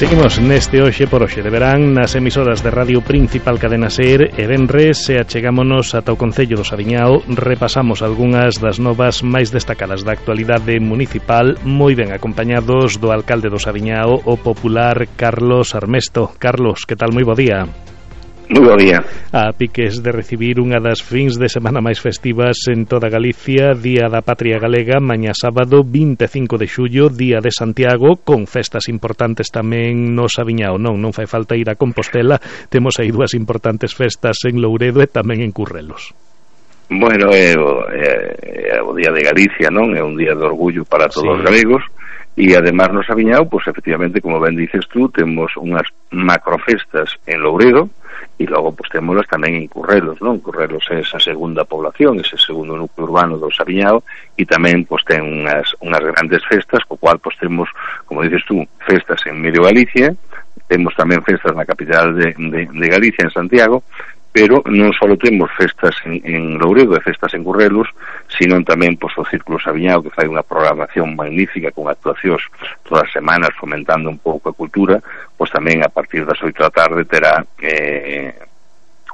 Seguimos neste Hoxe por Hoxe de verán nas emisoras de Radio Principal Cadena SER e venres e achegámonos ata o Concello do Saviñao. Repasamos algunhas das novas máis destacadas da actualidade municipal, moi ben acompañados do alcalde do Saviñao, o popular Carlos Armesto. Carlos, que tal? Moi bo día. Moi bo día. A piques de recibir unha das fins de semana máis festivas en toda Galicia, Día da Patria Galega, mañá sábado 25 de xullo, Día de Santiago, con festas importantes tamén no Saviñao. Non fai falta ir a Compostela, temos aí dúas importantes festas en Louredo e tamén en Currelos. Bueno, é o Día de Galicia, non? É un día de orgullo para todos os galegos. E además no Saviñao, pues efectivamente, como ben dices tú, temos unhas macrofestas en Louredo e logo pues témolas tamén en Currelos, non? Currelos é esa segunda población, ese segundo núcleo urbano do Saviñao e tamén pues ten unhas grandes festas, co cual pues temos, como dices tú, festas en medio Galicia, temos tamén festas na capital de Galicia, en Santiago, pero non só temos festas en Louredo e festas en Currelos, sino tamén pois, o Círculo Saviñao, que fai unha programación magnífica con actuacións todas as semanas fomentando un pouco a cultura, pois tamén a partir das 8 da tarde terá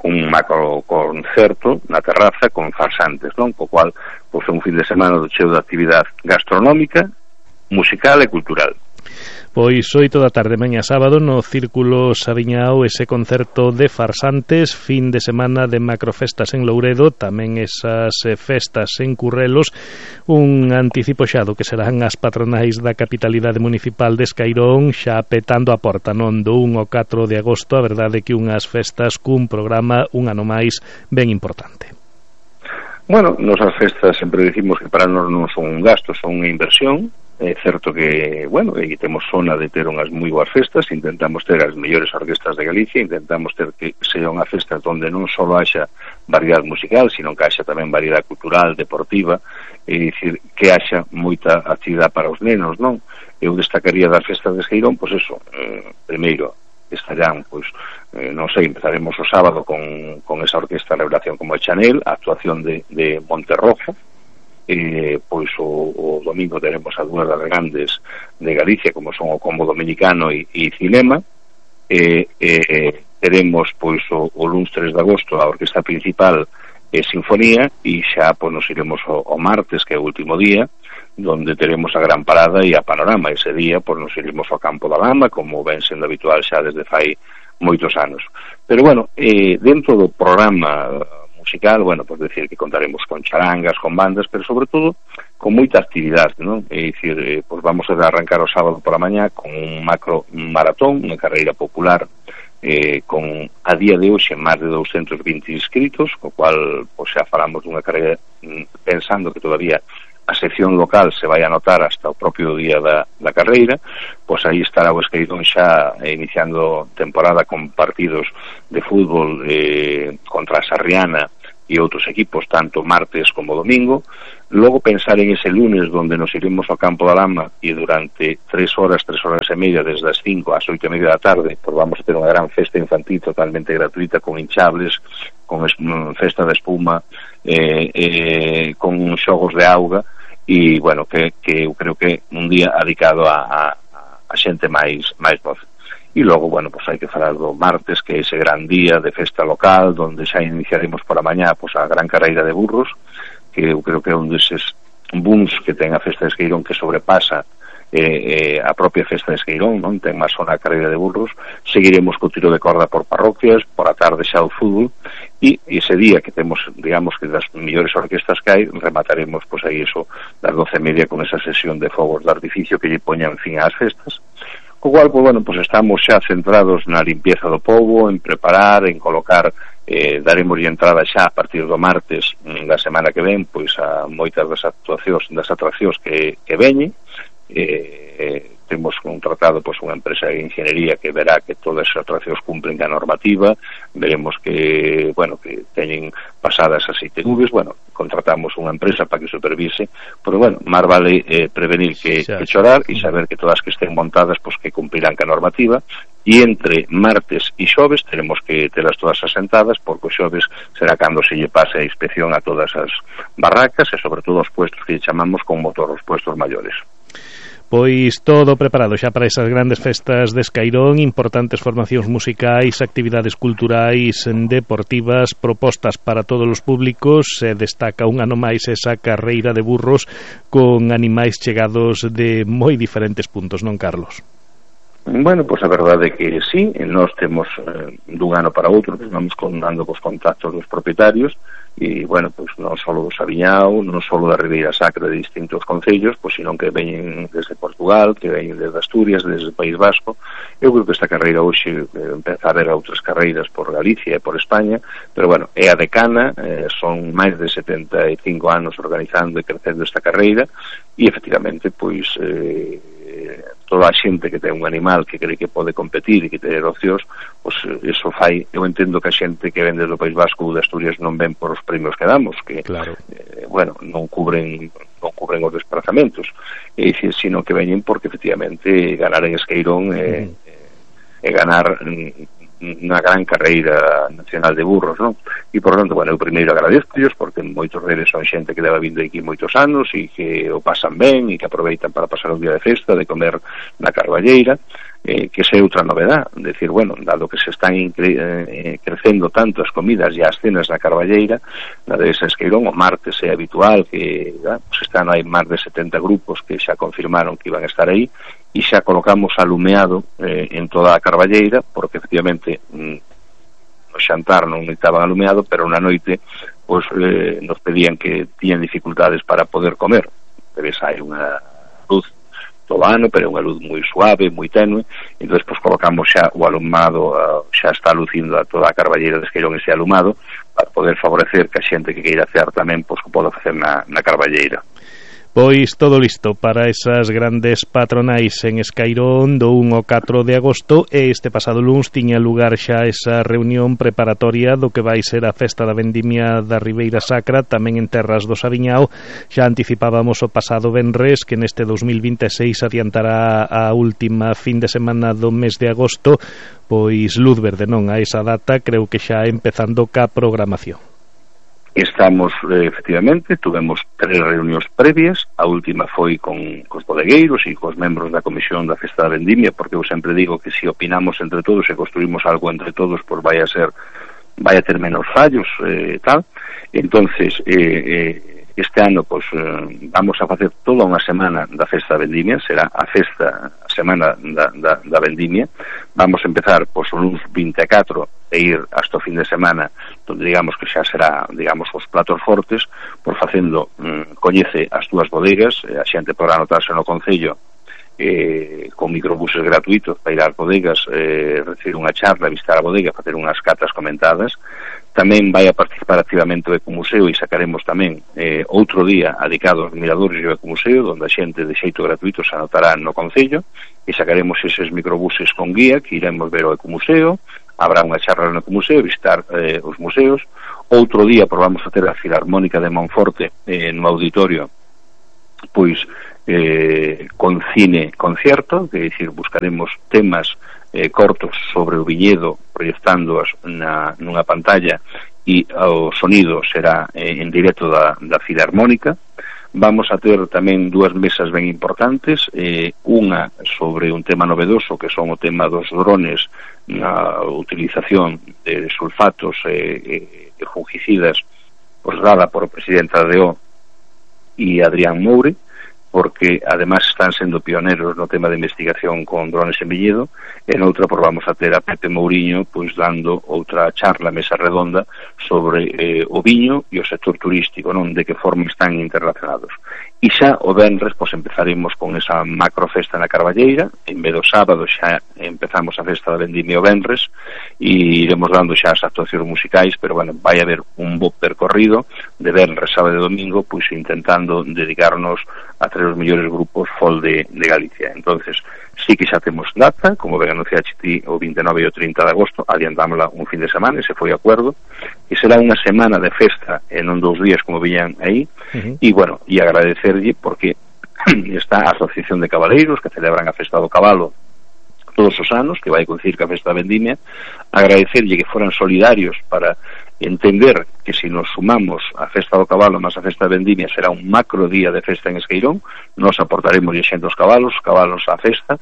un macro concerto na terraza con farsantes, non? Co cual, pois é un fin de semana do cheo de actividade gastronómica, musical e cultural. Pois 8 da tarde mañá sábado no Círculo Saviñao ese concerto de farsantes, fin de semana de macrofestas en Louredo, tamén esas festas en Currelos, un anticipo xado que serán as patronais da capitalidade municipal de Escairón, xa petando a porta, non, do 1 ao 4 de agosto, a verdade que unhas festas cun programa un ano máis ben importante. Bueno, nosas festas sempre dicimos que para nós non son un gasto, son unha inversión. É certo que, bueno, aí temos zona de ter unhas moi boas festas, intentamos ter as mellores orquestas de Galicia, intentamos ter que sea unha festa onde non só haxa variedade musical, sino que haxa tamén variedade cultural, deportiva, é dicir, que haxa moita actividade para os nenos, non? Eu destacaría das festas de Escairón, pois eso, primeiro, estarán, pois, non sei, empezaremos o sábado con esa orquesta Revelación como Chanel, a actuación de Monterrojo, pois o domingo teremos a dúas das grandes de Galicia como son o Combo Dominicano e Cinema, teremos pois o luns 3 de agosto a orquesta principal Sinfonía e xa pois nos iremos o martes, que é o último día, donde teremos a gran parada e a panorama. Ese día pois nos iremos ao Campo da Lama, como ven sendo habitual xa desde fai moitos anos. Pero bueno, dentro do programa musical, bueno, pues decir que contaremos con charangas, con bandas, pero sobre todo con moita actividade, non? É dicir, pues vamos a arrancar o sábado por a mañá con un macro maratón, unha carreira popular, con a día de hoxe máis de 220 inscritos, co cual pues xa falamos dunha carreira pensando que todavía a sección local se vai a anotar hasta o propio día da carreira, pois aí estará o Escairón xa iniciando temporada con partidos de fútbol contra a Sarriana e outros equipos, tanto martes como domingo. Logo pensar en ese lunes donde nos iremos ao Campo da Lama e durante 3 horas e media, desde as 5 ás 8 e media da tarde, pois vamos a ter unha gran festa infantil totalmente gratuita, con hinchables, con festa de espuma, con xogos de auga, e, bueno, que eu creo que un día dedicado a xente máis voz. E logo, bueno, pues hai que falar do martes, que é ese gran día de festa local, donde xa iniciaremos por a mañá pues, a gran carreira de burros, que eu creo que é un deses booms que ten a festa de Escairón que sobrepasa a propia festa de Escairón, non? Ten máis zona a carreira de burros. Seguiremos co tiro de corda por parroquias, por a tarde xa o fútbol, e ese día que temos, digamos, que das mellores orquestas que hai, remataremos, pois aí eso, das 12:30 con esa sesión de fogos de artificio que lle poñan fin ás festas. Co cual, pues, bueno, pues estamos xa centrados na limpieza do pobo, en preparar, en colocar, daremos entrada xa a partir do martes da semana que ven, pois a moitas das atraccións que veñen. Temos contratado pois unha empresa de ingeniería que verá que todas as atraccións cumplen a normativa, veremos que, bueno, que teñen pasadas as ITVs, bueno, contratamos unha empresa para que supervise, pero bueno, máis vale prevenir que chorar e saber que todas que estén montadas pois que cumplirán ca normativa, e entre martes e xoves teremos que telas todas asentadas, porque o xoves será cando se lle pase a inspección a todas as barracas e sobre todo os puestos que lle chamamos con motor, os puestos maiores. Pois todo preparado xa para esas grandes festas de Escairón, importantes formacións musicais, actividades culturais, deportivas, propostas para todos os públicos. Se destaca un ano máis esa carreira de burros con animais chegados de moi diferentes puntos, non, Carlos? Bueno, pois a verdade é que sí, nós temos dun ano para outro, pues, vamos dando cos contactos dos propietarios e, bueno, pois non só do Sabiñao, non só da Ribeira Sacra de distintos concellos, pois senón que veñen desde Portugal, que veñen desde Asturias, desde o País Vasco. Eu creo que esta carreira hoxe empeza a haber outras carreiras por Galicia e por España, pero, bueno, é a decana, son máis de 75 anos organizando e crecendo esta carreira e, efectivamente, pois toda a xente que ten un animal que cree que pode competir e que ter opcións, pois eso fai, eu entendo que a xente que ven desde o País Vasco ou de Asturias non ven por os premios que damos, que, claro, bueno, non cubren os desplazamentos, sino que veñen porque efectivamente ganar en Escairón é ganar unha gran carreira nacional de burros, non? E, por tanto, bueno, eu primeiro agradezco-llos porque moitos deles son xente que leva vindo aquí moitos anos e que o pasan ben e que aproveitan para pasar un día de festa, de comer na Carballeira, que esa é outra novedad, decir, bueno, dado que se están crecendo tanto as comidas e as cenas na Carballeira, na de Escairón, o martes é habitual que pues están aí máis de 70 grupos que xa confirmaron que iban a estar aí e xa colocamos alumeado en toda a Carballeira, porque efectivamente no xantar non estaban alumeado, pero na noite pues, nos pedían que tiñan dificultades para poder comer. Pero hai unha luz todo ano, pero é unha luz moi suave, moi tenue, entón pues, colocamos xa o alumado, xa está lucindo a toda a Carballeira de Escairón ese alumado, para poder favorecer que a xente que queira hacer tamén, pues, que poda facer na Carballeira. Pois todo listo para esas grandes patronais en Escairón do 1 ao 4 de agosto e este pasado luns tiña lugar xa esa reunión preparatoria do que vai ser a festa da vendimia da Ribeira Sacra tamén en terras do Sabiñao. Xa anticipábamos o pasado venres que neste 2026 adiantará a última fin de semana do mes de agosto, pois luz verde non a esa data, creo que xa empezando ca programación. Estamos, efectivamente, tuvemos 3 reunións previas, a última foi con cos bodegueiros e cos membros da Comisión da Festa da Vendimia, porque eu sempre digo que se opinamos entre todos e construímos algo entre todos, pois vai a ter menos fallos e tal. Entonces, este ano pues, vamos a facer toda unha semana da Festa da Vendimia, será a semana da Vendimia. Vamos a empezar pues, o luns 24 e ir hasta o fin de semana, donde digamos que xa será, digamos, os platos fortes, por facendo, coñece as túas bodegas, a xente podrá anotarse no Concello con microbuses gratuitos para ir ás bodegas, recibir unha charla, visitar a bodega, facer unhas catas comentadas. Tamén vai a participar activamente o Ecomuseo e sacaremos tamén outro día dedicado aos miradores do Ecomuseo, onde a xente de xeito gratuito se anotará no Concello e sacaremos eses microbuses con guía que iremos ver o Ecomuseo. Habrá unha charla no Ecomuseo, visitar os museos. Outro día vamos a ter a Filarmónica de Monforte no auditorio, pois con cine concierto, que é dicir, buscaremos temas cortos sobre o viñedo proyectándoas nunha pantalla e o sonido será en directo da Filarmónica. Vamos a ter tamén 2 mesas ben importantes, unha sobre un tema novedoso que son o tema dos drones na utilización de sulfatos e fungicidas, pues dada por o presidente da DO e Adrián Moure, porque además están sendo pioneros no tema de investigación con drones en viñedo, e noutra por vamos a ter a Pepe Mouriño pois dando outra charla, mesa redonda sobre o viño e o sector turístico, non, de que forma están interrelacionados. E xa o venres pois empezaremos con esa macrofesta na Carballeira, en vez do sábado xa empezamos a festa da vendimia o venres e iremos dando xa as actuacións musicais, pero bueno, vai haber un bo percorrido de venres, sábado e domingo, pois intentando dedicarnos a os mellores grupos folk de Galicia. Entonces, sí que xa temos data, como ben anunciaste ti, o 29 e o 30 de agosto, adiantámosla un fin de semana, ese foi o acordo, e será unha semana de festa, e non 2 días como viñan aí, e bueno, e agradecerlle porque está a Asociación de Cabaleiros, que celebran a festa do cabalo todos os anos, que vai coincidir ca festa da vendimia, agradecerlle que foran solidarios para entender que se nos sumamos a Festa do Cabalo máis a Festa de Vendimia será un macro día de festa en Esqueirón, nos aportaremos xente os cabalos á festa,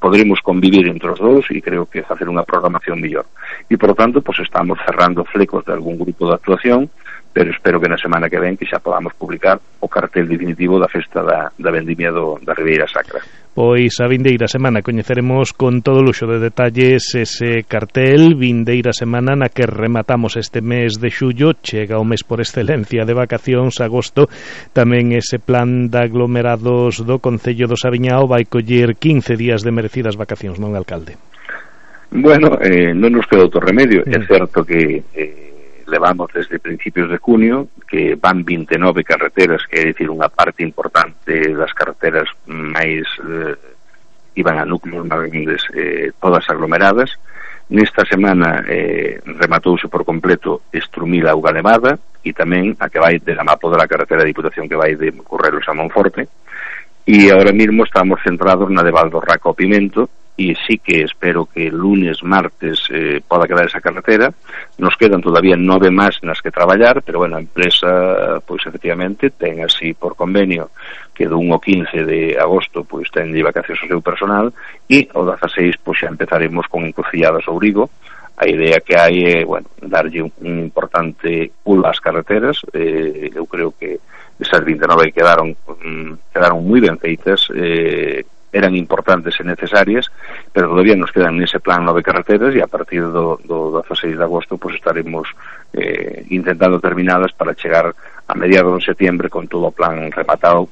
poderemos convivir entre os dous e creo que facer unha programación mellor. E, por tanto, pues estamos cerrando flecos de algún grupo de actuación, pero espero que na semana que ven que xa podamos publicar o cartel definitivo da festa da Vendimia da Ribeira Sacra. Pois a vindeira semana coñeceremos con todo luxo de detalles ese cartel, vindeira semana na que rematamos este mes de xullo, chega o mes por excelencia de vacacións, agosto, tamén ese plan de aglomerados do Concello do Saviñao vai coller 15 días de merecidas vacacións, non, alcalde? Bueno, non nos queda outro remedio, é certo que levamos desde principios de junio que van 29 carreteras, que é dicir unha parte importante das carreteras máis iban a núcleos máis grandes, todas aglomeradas. Nesta semana rematouse por completo Estrumil Auga Levada e tamén a que vai de la Mapo da carretera de Diputación que vai de Currelos a Monforte, e ahora mesmo estamos centrados na de Valdorraca ao Pimento, e sí que espero que lunes, martes poda quedar esa carretera. Nos quedan todavía 9 máis nas que traballar, pero bueno, a empresa pois efectivamente ten así por convenio que do 1 ao 15 de agosto pois ten de vacacións o seu personal, e o 16 pois xa empezaremos con encrucilladas ao Ourigo. A idea que hai é, bueno, darlle un importante pulo ás carreteras. Eu creo que esas 29 quedaron moi ben feitas, eran importantes e necesarias, pero todavía nos quedan nese plan 9 carreteras, e a partir do 16 de agosto pues estaremos intentando terminadas para chegar a mediados de setembro con todo o plan rematado.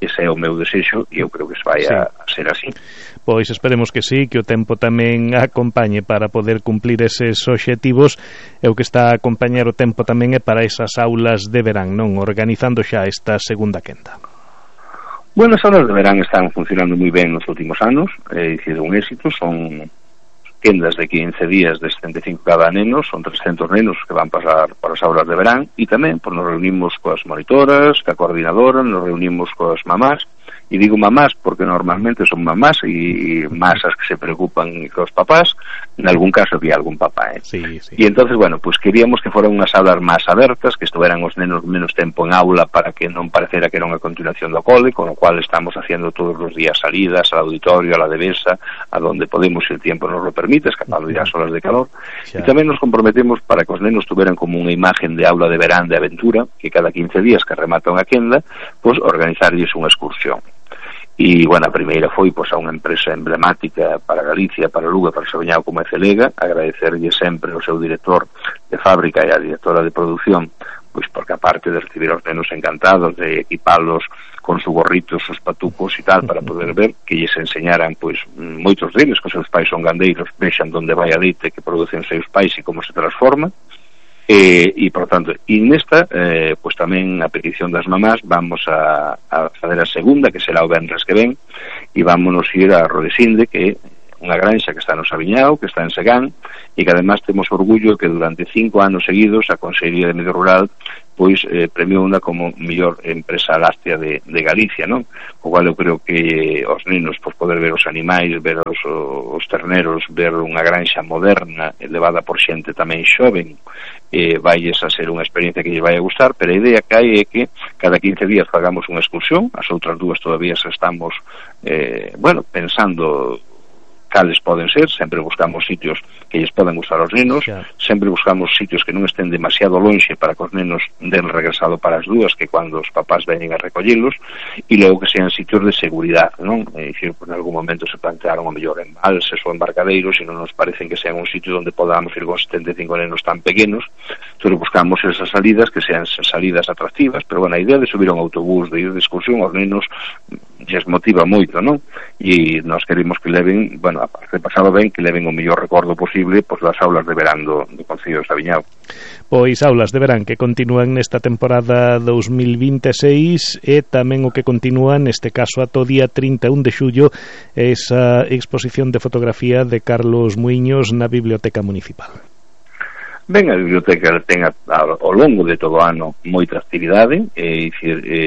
Ese é o meu desexo e eu creo que se vai a ser así. Pois esperemos que sí, que o tempo tamén acompañe para poder cumplir eses obxectivos, e o que está a acompañar o tempo tamén é para esas aulas de verán, non? Organizando xa esta segunda quenda. Bueno, as aulas de verán están funcionando moi ben nos últimos anos, é dicir, un éxito. Son quendas de 15 días de 75 cada neno, son 300 nenos que van pasar para as aulas de verán, e tamén pues, nos reunimos coas monitoras, ca coordinadora, nos reunimos coas mamás, e digo mamás porque normalmente son mamás e más as que se preocupan cos papás, en algún caso había algún papá, Sí. E entonces, bueno, pues queríamos que foran unhas aulas máis abertas, que estuveran os nenos menos tempo en aula para que non parecera que era unha continuación do cole, con o cual estamos haciendo todos os días salidas al auditorio, a la devesa, a donde podemos, si el tiempo nos lo permite, escapando ya as horas de calor. E tamén nos comprometemos para que os nenos tuveran como unha imagen de aula de verán de aventura, que cada 15 días que remata unha quenda, pues organizarlles unha excursión. E, bueno, a primeira foi pois, a unha empresa emblemática para Galicia, para Lugo, para Saviñao como é Celega, agradecerlle sempre ao seu director de fábrica e a directora de produción, pois porque aparte de recibir aos nenos encantados, de equipalos con su gorritos, sus patucos e tal, para poder ver que lles enseñaran, pois, moitos deles, que os seus pais son gandeiros, vexan onde vai a leite que producen os seus pais e como se transforma. E por tanto, e nesta pois tamén a petición das mamás vamos a fazer a segunda, que será o venres que ven, e vámonos ir a Rodesinde, que é unha granxa que está no Saviñao, que está en Segán, e que además temos orgullo que durante 5 anos seguidos a Consellería de Medio Rural pois premiou unha como mellor empresa láctea de Galicia, non? O cual eu creo que os nenos pois poder ver os animais, ver os terneros, ver unha granxa moderna elevada por xente tamén xoven, vai a ser unha experiencia que lles vai a gustar, pero a idea que hai é que cada 15 días fagamos unha excursión. As outras dúas todavía estamos pensando cales poden ser, sempre buscamos sitios que lles poden gustar aos nenos, sempre buscamos sitios que non estén demasiado lonxe para que os nenos den regresado para as dúas, que cando os papás veñen a recollelos, e logo que sean sitios de seguridade, non? É dicir, en algún momento se plantearon o mellor embalses ou embarcadeiros, e non nos parecen que sean un sitio onde podamos ir con 75 nenos tan pequenos. Entón buscamos esas salidas que sean salidas atractivas, pero bueno, a idea de subir a un autobús, de ir de excursión aos nenos lles motiva moito, non? E nós queremos que leven, bueno, aparte de pasado ben, que leven o mellor recordo posible pois das aulas de verán do Concello de Saviñao. Pois aulas de verán que continúan nesta temporada 2026 e tamén o que continúa neste caso ata o día 31 de xullo esa exposición de fotografía de Carlos Muiños na Biblioteca Municipal. Ben, a biblioteca ten ao longo de todo o ano moita actividade,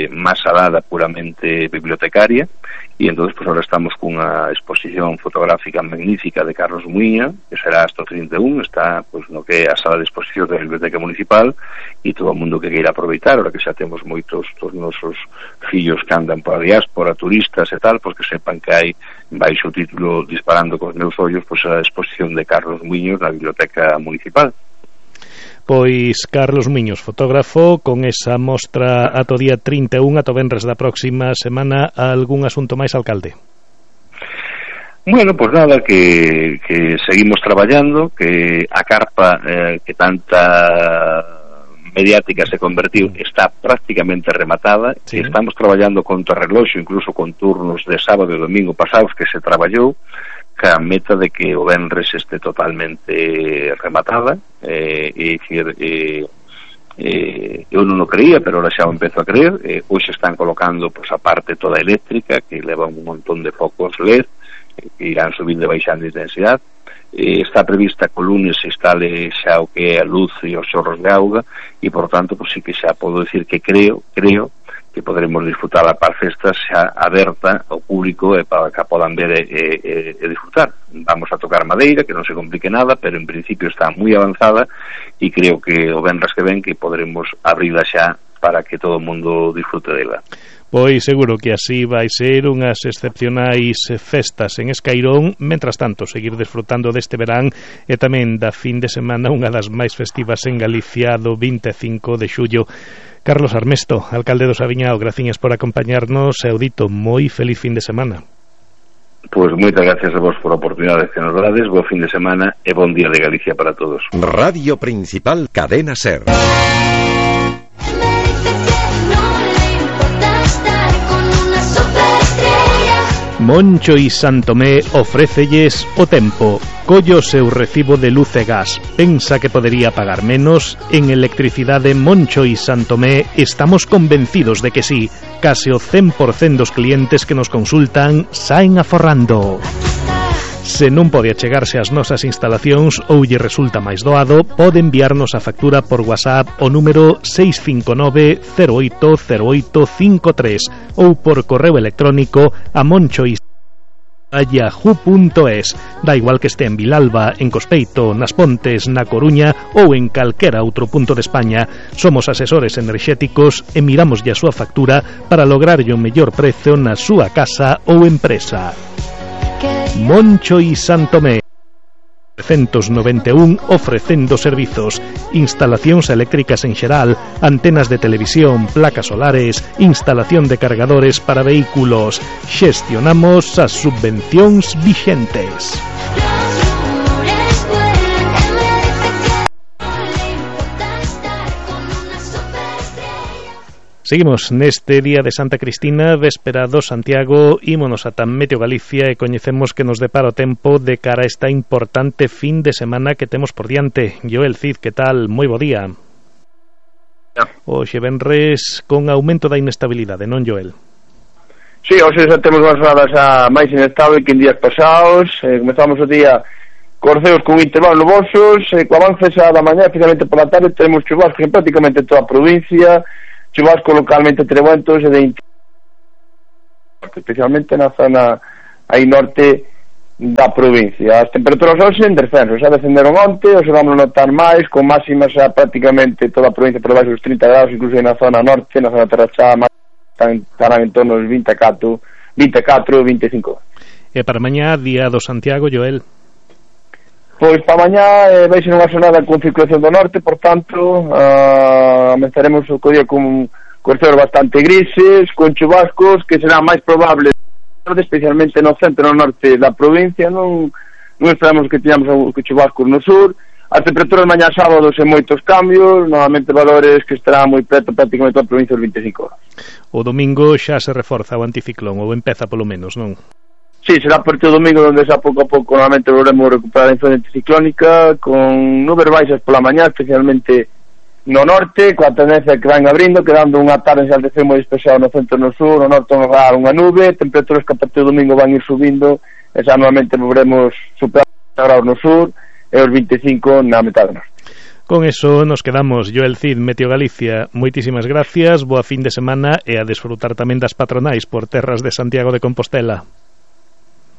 máis alada puramente bibliotecaria, e entón, pues, ahora estamos cunha exposición fotográfica magnífica de Carlos Muiña, que será hasta o 31, está pues, no que é a sala de exposición da Biblioteca Municipal, e todo o mundo que queira aproveitar, ahora que xa temos moitos dos nosos fillos que andan por a diáspora, turistas e tal, pues que sepan que hai baixo o título Disparando cos meus ollos, pues a exposición de Carlos Muiños na Biblioteca Municipal. Pois Carlos Muiños, fotógrafo, con esa mostra ata o día 31, ata o venres da próxima semana. Algún asunto máis, alcalde? Bueno, pues nada, que seguimos traballando, que a carpa que tanta mediática se convertiu está prácticamente rematada, sí. Que estamos traballando con reloxo, incluso con turnos de sábado e domingo pasados que se traballou, ca meta de que o venres este totalmente rematada, eu non o creía, pero ahora xa o empezo a creer. Hoxe están colocando pues, a parte toda eléctrica, que leva un montón de focos LED, que irán subindo e baixando de intensidade. Está prevista que o lunes se instale xa o que é a luz e os xorros de auga, e por tanto, pues, sí que xa podo decir que creo que poderemos disfrutar a par festas xa aberta ao público para que a podan ver e disfrutar. Vamos a tocar madeira, que non se complique nada, pero en principio está moi avanzada, e creo que o venres que ven que poderemos abrila xa para que todo o mundo disfrute dela. Pois seguro que así vai ser unhas excepcionais festas en Escairón. Mentras tanto, seguir desfrutando deste verán e tamén da fin de semana, unha das máis festivas en Galicia, do 25 de xullo. Carlos Armesto, alcalde do Saviñao, graciñas por acompañarnos e audito, moi feliz fin de semana. Pois moitas gracias a vos por a oportunidade que nos dades, bo fin de semana e bon día de Galicia para todos. Radio Principal, Cadena SER. Moncho y Santomé ofrécelles o tempo. Collo seu recibo de luz e gas. Pensa que podería pagar menos? En Electricidade Moncho y Santomé estamos convencidos de que sí. Case o 100% dos clientes que nos consultan saen aforrando. Se non pode achegarse ás nosas instalacións ou lle resulta máis doado, pode enviarnos a factura por WhatsApp o número 659-080853 ou por correo electrónico a monchois@yahoo.es. Da igual que este en Vilalba, en Cospeito, nas Pontes, na Coruña ou en calquera outro punto de España. Somos asesores enerxéticos e miramos a súa factura para lograrlle o mellor prezo na súa casa ou empresa. Moncho y Santomé 391, ofrecendo servizos, instalacións eléctricas en xeral, antenas de televisión, placas solares, instalación de cargadores para vehículos. Xestionamos as subvencións vixentes. Seguimos neste día de Santa Cristina, véspera do Santiago, ímonos ata Meteo Galicia e coñecemos que nos depara o tempo de cara a esta importante fin de semana que temos por diante. Joel Cid, que tal? Moi bo día. Hoxe venres con aumento da inestabilidade, non, Joel? Sí, hoxe xa temos unhas horas máis inestable que en días pasados. Comezamos o día cos ceos con intervalos nubosos, co avance xa da mañá, especialmente pola tarde, temos chubascos en prácticamente toda a provincia, chubascos localmente trementos e de especialmente na zona aí norte da provincia. As temperaturas hoxe en descenso, xa descenderon onte, hoxe vamos a notar máis, con máximas xa prácticamente toda a provincia por debaixo dos 30 graus, incluso na zona norte, na zona terrachá, estarán en torno aos 24, 25. E para mañá, día do Santiago, Joel? Pois para mañá vai ser unha xornada con circulación do norte, por tanto comenzaremos o día con ceos bastante grises, con chubascos que serán máis probables especialmente no centro e no norte da provincia. Non esperamos que teñamos chubascos no sur. As temperaturas mañá sábado sen moitos cambios, novamente valores que estarán moi preto prácticamente toda a provincia dos 25 horas. O domingo xa se reforza o anticiclón, ou empeza polo menos, non? Sí, será a partir do domingo onde xa pouco a pouco novamente volvemos a recuperar a influencia anticiclónica, con nubes baixas pola mañá, especialmente no norte, coa tendencia que van abrindo, quedando unha tarde xa de ceo moi despexado no centro e no sur, no norte unha nube, temperaturas que a partir do domingo van ir subindo, e xa novamente volveremos superar os graus no sur e os 25 na metade norte. Con eso nos quedamos. Joel Cid, Meteo Galicia, moitísimas gracias, boa fin de semana e a desfrutar tamén das patronais por terras de Santiago de Compostela.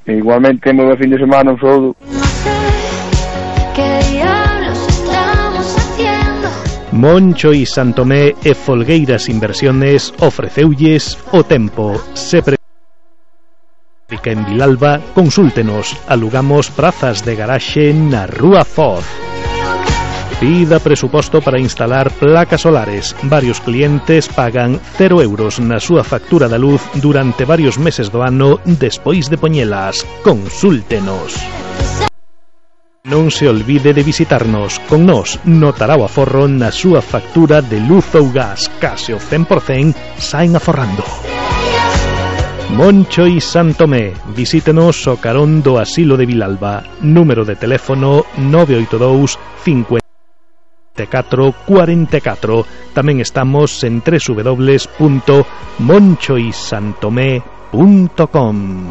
Igualmente, moi boa fin de semana, un saúdo. Moncho y Santomé e Folgueiras Inversiones ofreceulles o tempo. Se predica en Vilalba, consúltenos. Alugamos prazas de garaxe na Rúa Foz. Pida presuposto para instalar placas solares. Varios clientes pagan 0 euros na súa factura da luz durante varios meses do ano despois de poñelas. Consúltenos. Non se olvide de visitarnos. Con nós notará o aforro na súa factura de luz ou gas. Case o 100% saen aforrando. Moncho y Santomé. Visítenos o carón do Asilo de Vilalba. Número de teléfono 982 50 44. Tamén estamos en www.monchoysantomé.com.